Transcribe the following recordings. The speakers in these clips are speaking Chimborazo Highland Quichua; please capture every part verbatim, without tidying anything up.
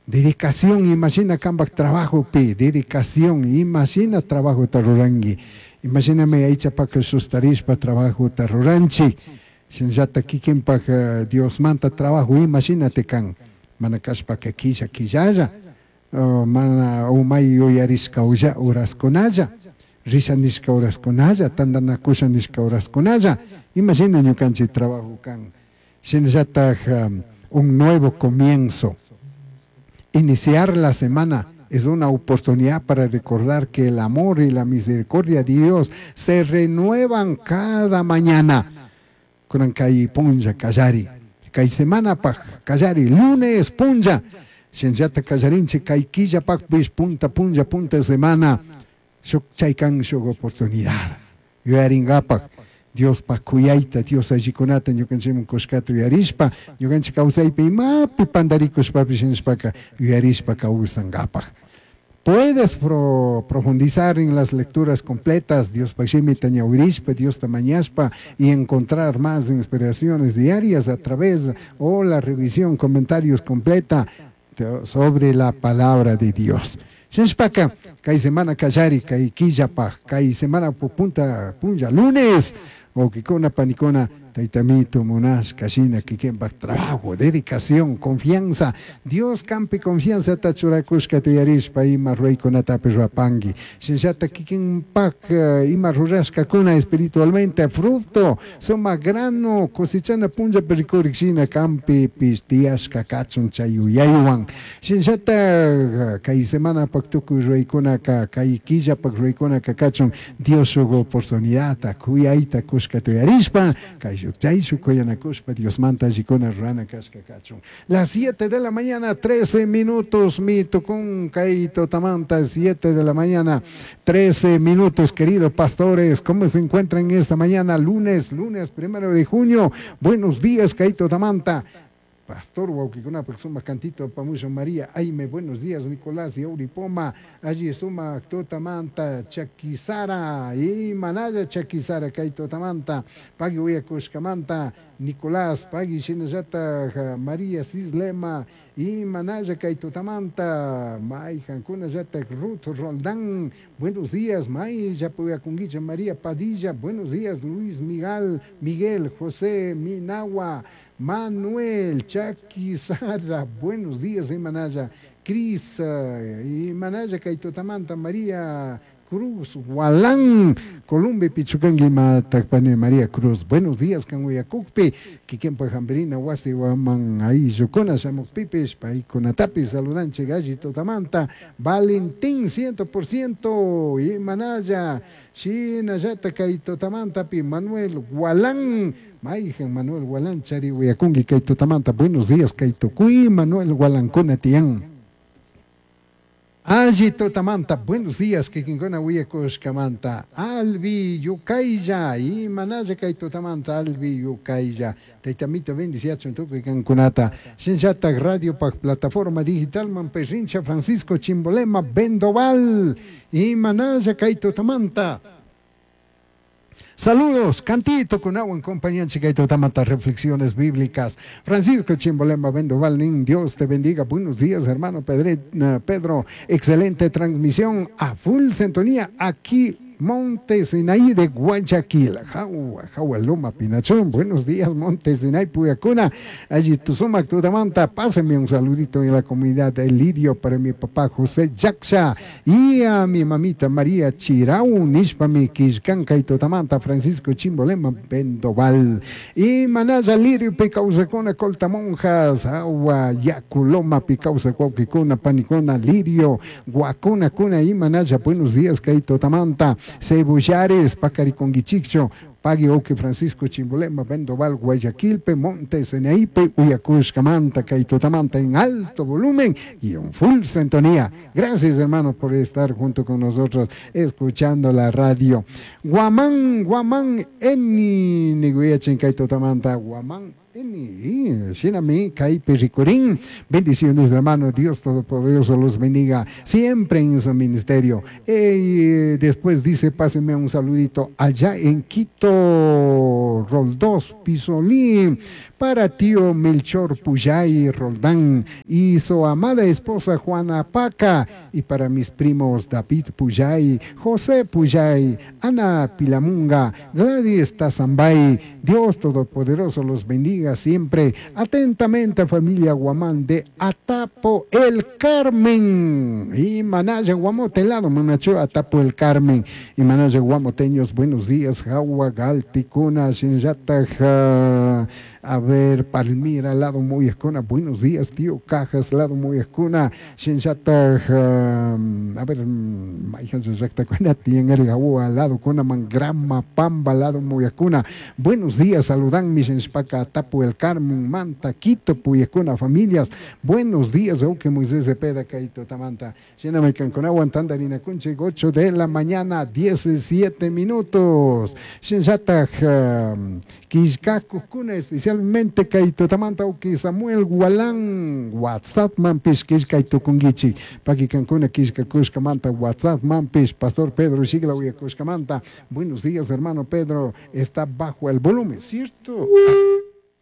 Dedicación, imashina kampak trabajopi, dedicación, imashina trabajota ruranki. Imashinami aychapaka sustarishpa trabajota ruranchik. Shinallata kikinpak Diosmanta trabajo imashinati kan. Mana kashpaka killa killalla, mana umay yuyarishka horaskunalla, risha nishka horaskunalla, tantanakusha nishka horaskunalla, imashina ñukanchik trabajo kan. Shinallatak un nuevo comienzo. Iniciar la semana es una oportunidad para recordar que el amor y la misericordia de Dios se renuevan cada mañana. Kunan kay punlla kallari, kay semanapaj kallari, lunes punlla, shinallata kallarinchik kay killapakpish punta punlla punta semana, shuk chaykan shuk oportunidad. Yuyaringapak Diospaj kuyayta, Dios allikunata ñukanchikman kushkata yuyarishpa, ñukanchik kawsaypi imapi pandarikushpapish nishpaka yuyarishpa kawsankapak. Puedes pro, profundizar en las lecturas completas, Dios shimita ñawirishpa, Dios mañashpa, y encontrar más inspiraciones diarias a través o la revisión, comentarios completa sobre la palabra de Dios. Shinashpaka, kay semana kallari, kay killapaj, kay semana punta punlla, lunes, wawkikuna, panikuna, taytamito, munashka, shina, kikinpak trabajo, dedicación, confianza, Dios kampi confianza churakushka yuyarishpa ima ruraykunatapish rurapanki. Shinallata kikinpak ima rurashkakuna espiritualmente fruto, sumak grano, cosechana punllapi rikurik shina kampipish tiyashka kachun chay yuyaywan. Shinallata kay semanapak tukuy ruraykunaka, kay killapak ruraykunaka kachun Dios shuk oportunidadta, kuyayta kushka yuyarishpa, kay shuk chay shuk kuyanakushpa Diosmanta allikuna rurana kashka kachun. Las siete de la mañana, trece minutos, mi tukun kay tutamanta, siete de la mañana, trece minutos, queridos pastores, ¿cómo se encuentran esta mañana? Lunes, lunes primero de junio. Buenos días, kay tutamanta. Pastor wawkikuna sumak cantito pamusho María Aime, buenos días Nicolás y Auripoma, allí suma tutamanta Chaquizara y Manaya Chaquizara kay tutamanta, pagui uyakushkamanta Nicolás, pagui shinallata María Cislema y Manaya kay tutamanta, mayqankuna llata Ruth Roldán, buenos días, may yapuyakunguicha María Padilla, buenos días Luis Miguel, Miguel José Minagua, Manuel Chaquizara, buenos días, Imanaya, Cris, Imanaya kay tutamanta, María Cruz, Gualán, Columbia, Pichucangui, Matakpani, María Cruz, buenos días, Canguayacukpi, Kikinpa Jambrina, Wasi, Guaman, ahí, Yukuna, Shamukpipish, Paikunatapi, saludanche, Galli, Tutamanta, Valentín, ciento por ciento, Imanaya, Shinayata, kay tutamantapi, Manuel Gualán, Maijan Manuel Gualán, Chari, Huyakungi, kay tutamanta, buenos días, kay tukui, Manuel Gualancuna, Tián. Alli tutamanta, buenos días, kikinkuna wiyakushkamanta, Albi Yukaylla, imanalla kay tutamanta, Albi Yukaylla, taytamito bendiciachun tukuy kankunata, shinllatak radio pak plataforma digital man Perrincha Francisco Chimbolema Bendoval, imanalla kay tutamanta. Saludos, cantito con agua en compañía kay tutamanta, reflexiones bíblicas. Francisco Chimbolema Bendoval, nin, Dios te bendiga. Buenos días, hermano Pedre, Pedro. Excelente transmisión a full sintonía aquí, Monte Sinaí de Guayaquil. Jaua, Jaua, Loma, Pinachón. Buenos días, Monte Sinaí, Puyacuna. Allí Tusumac, Tutamanta. Pásenme un saludito en la comunidad de Lirio para mi papá José Yaxa y a mi mamita María Chirau, Nishpami, Quiscanca y Tutamanta, Francisco Chimbolema, Bendoval. Y Manaya Lirio, Picausacona, Colta Monjas, Agua, Yaculoma, Picausa, Cuauquicuna, Panicona, Lirio, Guacuna, Cuna y Manaya. Buenos días, Kay Tutamanta. Cebullares, Pacariconguichicho, Pagui Oque Francisco Chimbolema, Bendoval, Guayaquilpe, Montes, Eneipe, Uyacushcamanta, Caitotamanta en alto volumen y en full sintonía. Gracias, hermano, por estar junto con nosotros escuchando la radio. Guamán, Guamán, Eni, Niguiachin, Caitotamanta, Guamán, N. Shinami kaypi rikurin. Bendiciones, hermano. Dios Todopoderoso los bendiga siempre en su ministerio. Eh, después dice, páseme un saludito allá en Quito, Roldós, Pisolín, para tío Melchor Puyay Roldán y su amada esposa Juana Paca, y para mis primos David Puyay, José Puyay, Ana Pilamunga, Gladys Tazambay. Dios Todopoderoso los bendiga siempre. Atentamente, familia Guamán de Atapo El Carmen. Y Manaya Guamote lado, Manacho Atapo El Carmen. Y Manaya Guamoteños, buenos días. Jawa, Galticuna, Shinjata, a ver, Palmira, lado Moyescuna, buenos días, tío Cajas, lado Moyescuna, Shinjata, a ver, Maijan Sactacuna, Tiengar, lado Cuna, Mangrama, Pamba, lado Moyescuna, buenos días, saludan mi Shinspaka, Atapo El Carmen, Manta, Quito, Puyescuna, familias, buenos días, aunque Moisés Cepeda, Caito Tamanta, Shiname Canconagua, Tandarina Cunche, ocho de la mañana, diecisiete minutos, Shinjata, Quiscacuna, especialmente Kaito Tamanta, uki Samuel Gualán, WhatsApp manpish, Quiscaito Kungichi, Paqui Cancuna, Quisca Cuscamanta, WhatsApp manpish, Pastor Pedro Sigla, Cuscamanta, buenos días, hermano Pedro, está bajo el volumen, ¿cierto?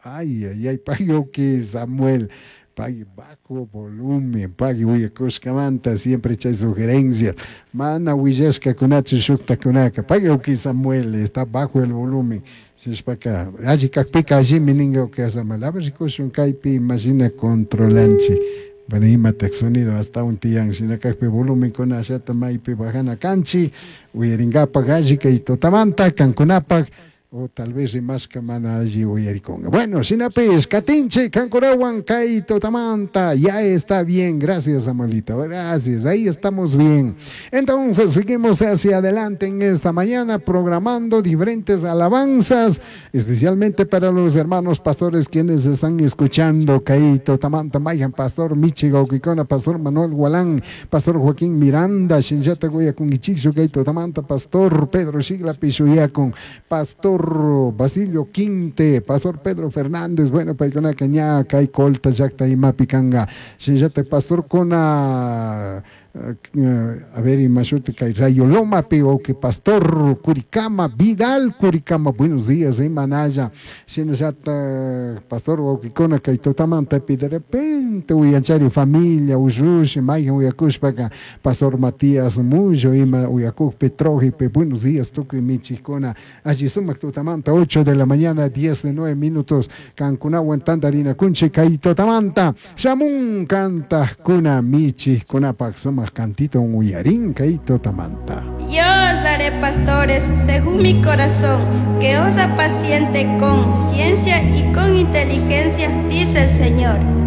Ay, ay, ay, pague que Samuel, pague bajo volumen, pague uyakushkamanta, siempre chay sugerencias. Mana willashka kunachu shukta kunaka, pague que Samuel, está bajo el volumen. Sishpaka, alli kakpika allimi ninga que Samuel, a ver si kushun kaypi imagina controlanchi. Bueno, imatak sonido hasta un tiyan, shinakakpi volumen kuna ashata maypi bajana kanchi, uyaringapak alli kay totamanta, kankunapak, o tal vez rimashka mana alli uyarikunga. Bueno, shinapis, katinche, kankunawan, kay totamanta, ya está bien, gracias Samuelito, gracias, ahí estamos bien. Entonces seguimos hacia adelante en esta mañana programando diferentes alabanzas, especialmente para los hermanos pastores quienes están escuchando, kay totamanta, mayan, pastor Michi Gauquicona, pastor Manuel Gualán, pastor Joaquín Miranda, Shinjata Goyakungichixo, kay totamanta, pastor Pedro Sigla Pishuyacun, pastor Basilio Quinte, pastor Pedro Fernández, bueno, paikuna caña, kay colta, yacta y mapicanga, shinjata pastor cona, a ver, y mashuti kay Rayo Loma, o que pastor Curicama, Vidal Curicama, buenos días, eh, Manaya, shinjata pastor Oquicona, kay totamanta, de repente, uyanchari familia, ushushi, maya, uyakushpaka, pastor Matías Muyo, ima, uyakuj, Petrojipe, buenos días, tukuy michicona, allí sumak totamanta, ocho de la mañana, diez de nueve minutos, Cancunahuan, Tandarina, Kunche, kay totamanta, Shamun, canta, kuna, michi, kunapak, sumak cantito, un uyarín, kay totamanta. Yo os daré pastores según mi corazón, que os apaciente con ciencia y con inteligencia, dice el Señor.